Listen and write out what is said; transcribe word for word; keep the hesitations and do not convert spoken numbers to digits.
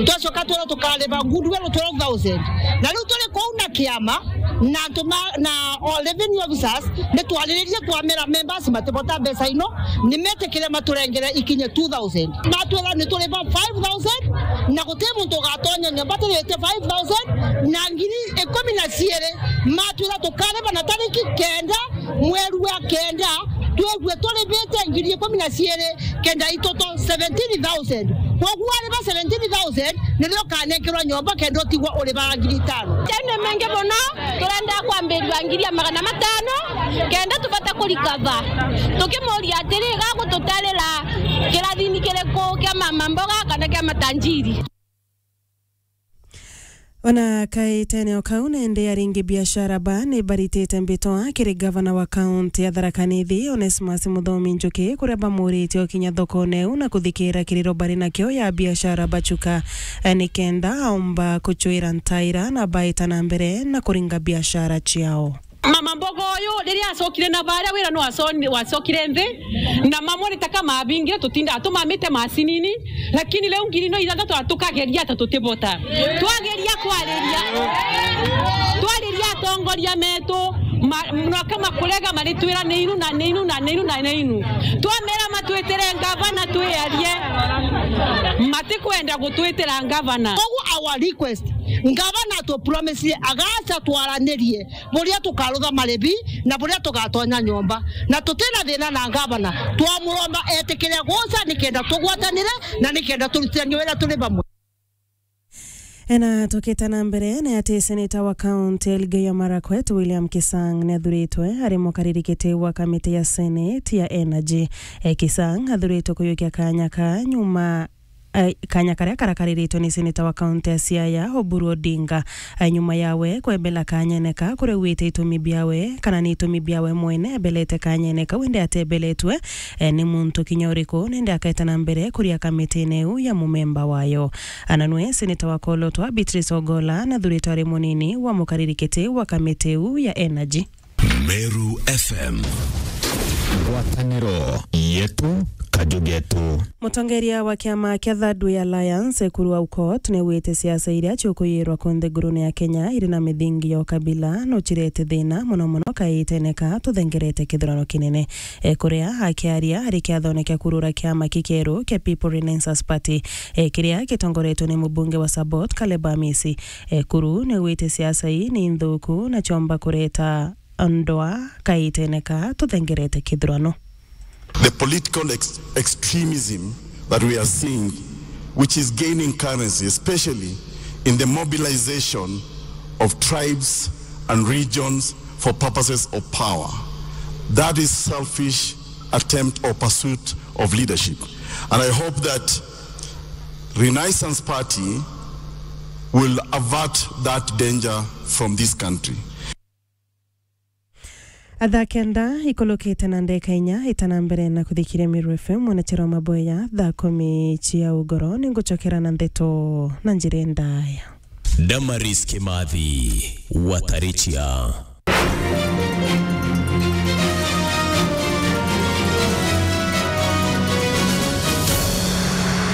Twacoka twirwa tukariba goodwill twelve thousand. Na riu turi kuu na kiama na antu ma, na all revenue officers, ni twariririe twamera members matibota mbeca ino, ni metikire maturengere ikinye two thousand. Matwira ni turiba five thousand, na guti muntu ugatonya nyomba tirite five thousand, na ngiri ikumi na ciiri matwira tukariba na tariki kenda mweri wa kenda, twigwe turibite ngiri ikumi na ciiri kenda itoto seventeen thousand. Koguo ariba seventeen thousand, nirio ukanenkerwa nyomba kenda utigwa uribaga ngiri itano. Jau ni mengi mono, turenda kwambirua ngiri ya magana matano, kenda tubate kurikava. Tukimuria atiri, gagututarira kirathini kiriku kia mama mboga kana kia matanjiri? Ona kaitene o kau, nende aringi biashara ba ni baritite mbitwa kiri gavana wa kaunti ya Tharaka Nithi, Onesmus Muthomi Njuki, kuria bamuritie ukinya thokone iu na kuthikira kiriro bari nakio ya biashara bachuka, eh, nikenda aumba kuchwira ntaira na baita na mbere na kuringa biashara ciao. Mama mboga uyu riria acokire na baria wira no aso-, wacokire nthi, na mamwe ni ta kama abingire tutinda atumamite macinini, lakini riu ngiri no ithathatu atukageria ata tutibota. Twageria kwariria, twariria atongoria metu, ma-, no kama kurega maritwira ni inu na ni inu na ni inu na ni inu. Twamera matwitire ngavana twiarie, matikwenda gutwitira ngavana. Koguo our request, ngavana atupromisire agaca twaranirie buria tukarutha maribi na buria tugatonya nyomba, na tutina thina na ngavana. Twamuromba etikire guca nikenda tugwatanire na nikenda turutithanie wira turi bamwe. Ena tukite na mbere, ni ati seneta wa kaunti ya Elgeyo Marakwet, William Kisang, ni athuritwe ari mukariri kiti wa kamiti ya Senate ya Energy. E, Kisang athuritwe kuyukia kanya ka nyuma eh, kanya karia karakariritwe ni seneta wa kaunti ya Siaya, Oburu Odinga. Eh, nyuma yawe kwebela kanyene ka, kuregwite itumi biawe, kana ni itumi biawe mwene ebelete kanyene kau, indi atebeletwe, eh, ni muntu kinya uriku, nindi aketa na mbere kuria kamitine iu ya mumemba wayo. Ana nwe seneta wa Kolotwa, Beatrice Ogola, nathuritwe ari munini wa mukariri kiti wa kamiti iu ya energy. Meru F M. Ngwataniro yetu, kaju getu. Mutongeria wa kiama kia Thirdway Alliance, Ekuru Aukot, niaugite siasa iria ciukuyirwa kunthe ngurune ya Kenya iri na mithingi ya ukabila no cirete thina mono mono kaitene ka tuthengerete kithurano kinene. E, kuria akiaria ari kiathone kia kurura kiama kikeru kia People Renaissance Party, e, kiria gitongoretwe ni mubunge wa Sabot, Caleb Amisi, Ekuru niaugite siasa ii ni nthuku na ciomba kureta ndwaa kaitene ka tuthengerete kithurano. The political ex-, extremism that we are seeing, which is gaining currency, especially in the mobilization of tribes and regions for purposes of power, that is selfish attempt or pursuit of leadership. And I hope that Renaissance Party will avert that danger from this country. Thaa kenda ikulukite na ndeka inya, ita na mbere na kuthikiria Meru F M, mwanachero maboya, thaa kumi cia ugoro, ningucokera na ndeto na njira ndaya. Damaris Kimathi, Watarichia.